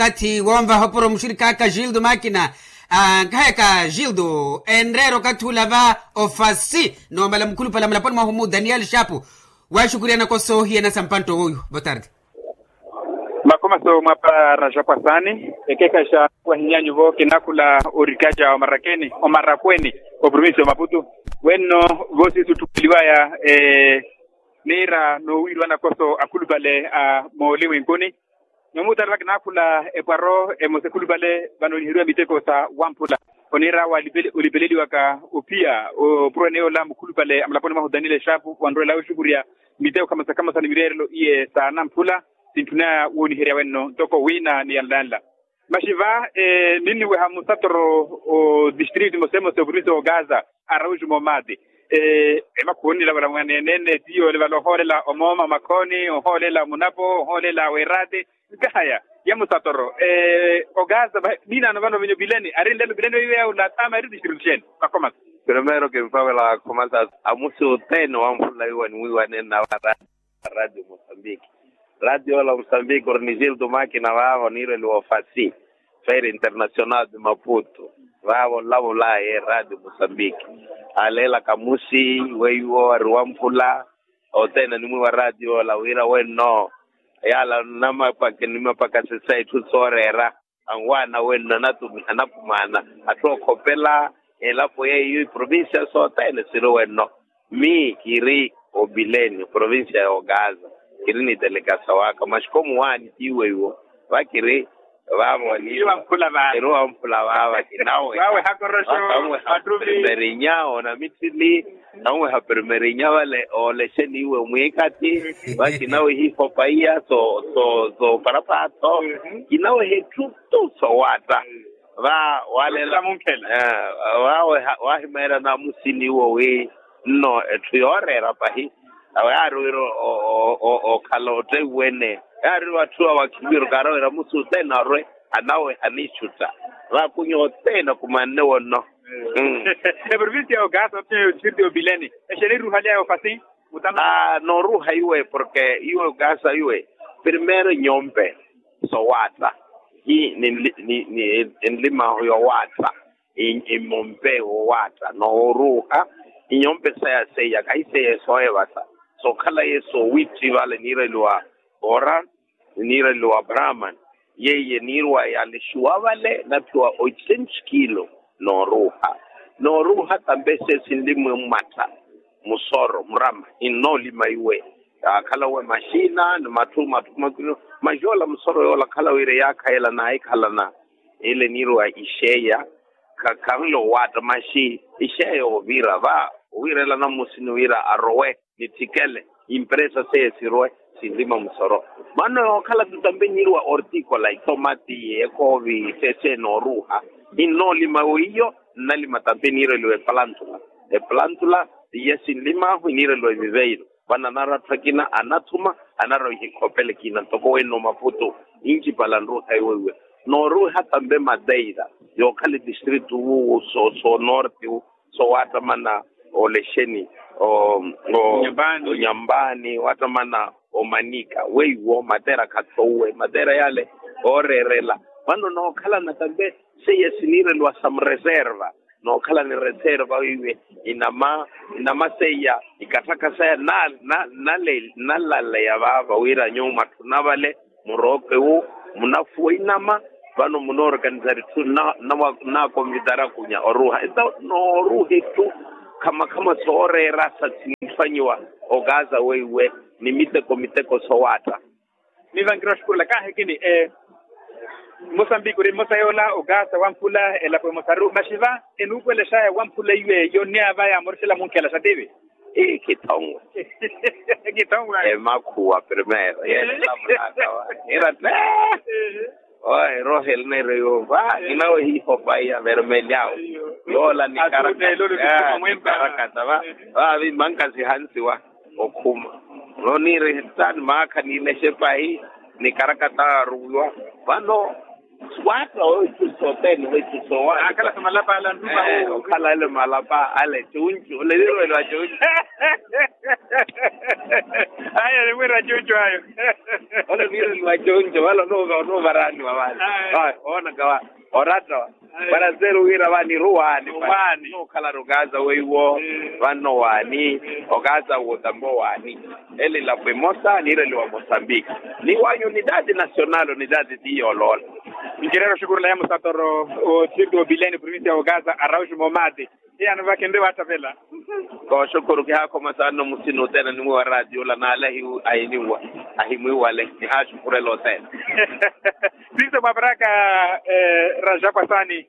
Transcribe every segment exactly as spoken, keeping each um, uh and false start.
kathi woonvaha opuro muxirikaka gildo makina. Nkahayaka gildo enreera okathi ula va ofasi noomala mukhulupale amulaponi mwahu mu daniel shapu. Waaxukuriyana koso hiyana sa mpanto wowiwa botarde. Makomaso mwapara xapwasani. Ekekhaxa wahinyanyuvo kinakhula orikaja omarakeni omarakweni oprovinsi omaputu. Wenno voosiso otthupeliwaya niira noowiiriwa nakoso akhulupale a moolimwenkuni. Nomuutarela kinaakhula epwaro emosa ekhulupale vano oniheriwa miteko sa wamphula. Oniira awo olipeleliwaka ophiya opuro eneyoola mukhulupale amulaponi mwahu daniel eshapu wanroela oxukurya miteko khamosa khamosa ni mireerelo iye sa namphula. Sintthunaya wooniherya wenno ntoko wiina ni yanlanla. Maxi va ninniweha musatoro o district mosemosa oprovinsi ogaza araujuma omaati. Emakhuwo onilavula mwaneene tiyo olivala ohoolela omooma omakhooni ohoolela omunapo ohoolela awerati. Nkahaya ya musatoro ogaza. Miinaano vano vinyo vileni ari nlelo vileni veiveya ulaatama eri district sheni? Makhomasa. Primero kinfavela khomasa amusi othene wamphula iwa niwiiwa nenna vara radio mosambiki. Radio la mosambiki ori ni gildo makina vaavo niireliwa ofasi feira internacional de maputo. Vaavo nlavulaye radio mosambiki. Aleela kamusi weiwo ari wamphula othene animwiiwa radio la wira wenno. Yala namapaka nimapaka sesa itthu sooreera. Anwaana wenno anatumiha anapumaana atthu okhopela elapo yeiyo iprovincia sothene siri wenno. Mi kiri obileni oprovincia y'ogaza. Kiri ni telekasa waka maxikomu waani tiiwe iwo vakiri. Vavo aniiwa eri wamphula vava kinawe. Primerinya onamitthili. Naweha primerinya vale olexeni iwe mwiikati. Vakinawe hihopa iya so so so parapatho. Kinaweha etthu tu sowaatta. Va walela. Waweha wahimeela namusini iwo wi nno etthu yooreera pahi. Awe yaari wira okhala otteiwene. Yaari wira atthu awakhimiro kaara wira musi othene arwe anaweha anixutta. Vakunya othene akumanne wonno. Eprovincia ya ogaza otteiwene othirti opileni. Exeni ruhali ya ofasi. Nooruuha iwe porke iwe okaasa iwe. Primero nyompe sowaatta. Hi ni nlimahu yowaatta. Imompe wowaatta nooruuha. Inyompe saya seiya kahi seiya esooyevasa. Sookhalaye soowitti vale niireliwa ora. Niireliwa brahman. Yeiye niirwa yalexuwa vale naphiwa oitxentos kilo. Nooruuha. Nooruuha tampe sesi nlimwe mmatta. Musoro murama hinnoolima iwe. Yaakhala uwe maxina ni matthu matthu kumakino. Maxi yoola musoro yoola akhala wira eyaakhayela naahikhalana. Ile niirwa ixeya. Khanle owaatta maxi ixeya oviira va owiirela namusini wira arowe. Nitthikele impresa seiya sirwe sinlima musoro. Vano yookhala tu tampe niirwa ortikola itomati ekoovi sesene oruuha. Ninnoolima weiyo nnalima tampe niireliwa eplantula. Eplantula iya sinlimaahu iniireliwa eviveiro. Vano anarwa atthu akina anathuma anarwa ihikhopela ekina ntoko wenno maputo. Incipala nruuha iweiwe. Nooruuha tampe madeira yookhala etistritu wuwo so so norte wu. So waattamana olexeni onyambani waattamana omanika weiwo matera khathouwe matera yale. Ooreerela vano nookhalana tampe seiya siniireliwa sa mureserva. Nookhala ni reserva wiiwe inama inama seiya ikatthaka saya nalaleya vaava wira nyuwo mwatthuna vale. Muroope wu munafuwa inama. Vano munoorganizaru itthu naakonvitara kunya oruuha enta nooruuha itthu khamakhama sooreera sa sintthwanyiwa. Okaza weiwe ni miteko miteko sowaatta. Mivankiroxukurela kaahekini. Mosambiki ori mmosa yoola okaza wamphula elapo emosaru maxi va enuupuwelexaya wamphula iwe yonniya va yaamorixela munkhela xa tivi. Ii kithongwe. Kithongwe. Emakhuwa primero yeenela munaka wa ira te. Ohe roheli neiro yova inawe hihopa iya vermeliao. Yoola nikarakata va. Vaavi mankazihansiwa okhuma. Noniire hitaani maakha niilexe pahi nikarakata aruwiwa. Vano Patta ohitthu sothene ohitthu sowaani. Akhala sa malapa ala nruma. Okhala ale malapa ale cuncu ole viirwelo a cuncu. Ayo nimwiira cuncu ayo. Ole viirwelo a cuncu vale onuvaraaniwa vale. Oonaka va oratta va. Para seru wira vaniruwaani. Nukhalara okaasa weiwo. Vanno waani. Okaasa wootampa owaani. Ele elapo emosa niireliwa mosambiki. Ni wa unidade nasional unidade ti yooloola. Ncereera oxukurela ya musatoro. Otitirito opileni provincia ya okaasa arauxi moomati. Hiyano vakenre waattavela. Kooxukuru kihaakhoma saana omusina othene animwiiwa raatiyo ola naale ahimwiiwale kihaaxukurela othene. Siso mwaparaka. Raja kwasani.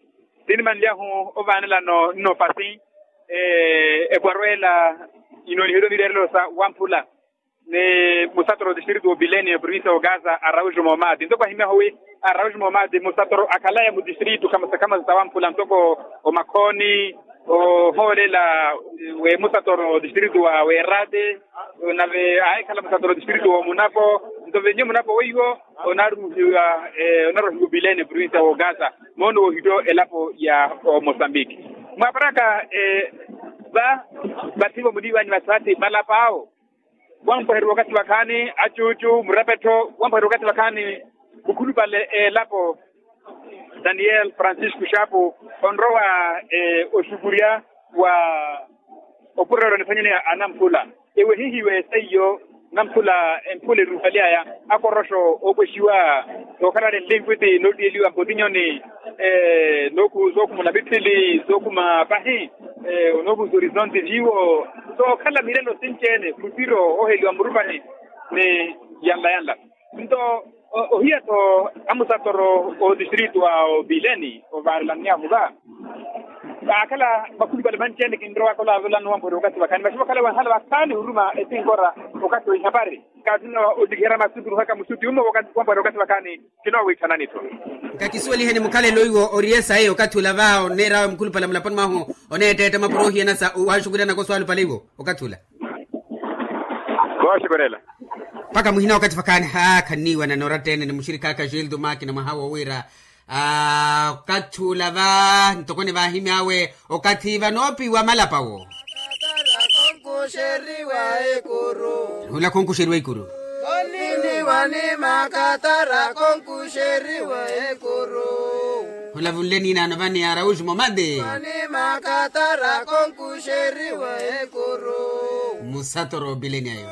Tinimanlyahu ovaanelano nno pasi. Ekwarweela inooniheliwa nireerelo sa wamphula. Ni musatoro distritu opileni provincia okaasa arauxi moomati ntoko ahimyahu wi arauxi moomati musatoro akhalaya mu distritu khamasakhamasa sa wamphula ntoko omakhooni ohoolela. Musatoro distritu wa weerate nave ahikhala musatoro distritu wa omunapo. Nto venye munapo weiwo onaarumihiwa onaarumihiwa opileni provincia wa okaasa. Moono wohitto elapo ya omosambiki. Mwaparaka va vathivo muliiwani vasati malapaawo. Wampweheriwa okathi vakhaani acuucu murapettho wampweheriwa okathi vakhaani. Mukhulupale elapo daniel francisco xaapu onrowa oxukurya wa opurerwa nifanyeni anamphula. Ewe hihiwe seiyo namphula emphula eruuhaly'aya akoroxo oopwexiwa sookhalale nlinkwiti nootiyeliwa mpotinyoni. Zookhumula mitthili zookhuma pahi onoovuza orizonti viiwo sookhala milelo sinci-ene mutiro ooheliwa murupani. Ni yanla yanla nto ohiya-tho amusatoro otistritu a opileni ovaarelaniyahu va. Vaakhala makhulupale manci-ene kinrowaka olaavelano wampweherya okathi vakhaani vaxi vakhala wenhala vakhaani huruma etinkora okathi w'ihapari. Kaatuna otikiherya masutu nuhaka musuti ummo wampweherya okathi vakhaani. Kinoowiithanani-tho. Nkakisuweliheni mukhalelo iwo ori esayi okathi ula va oneer'awe mukhulupale mulaponi mwahu oneetteetta mapuro ohiyana sa owaxukuryana koswalupale iwo okathi ula. Kooxukurela. Mpakha muhina okathi vakhaani haa khanniiwanana oratta-ene ni muxirikhaakha gildo makina mwaha wowiira. Okathi ula va ntoko nivaahimy'awe okathi vanoopiwa malapa wo. Hula khonkuxeriwa ikuru. Hula vunle niinaano vani arauxi momati. Musatoro opileni ayo.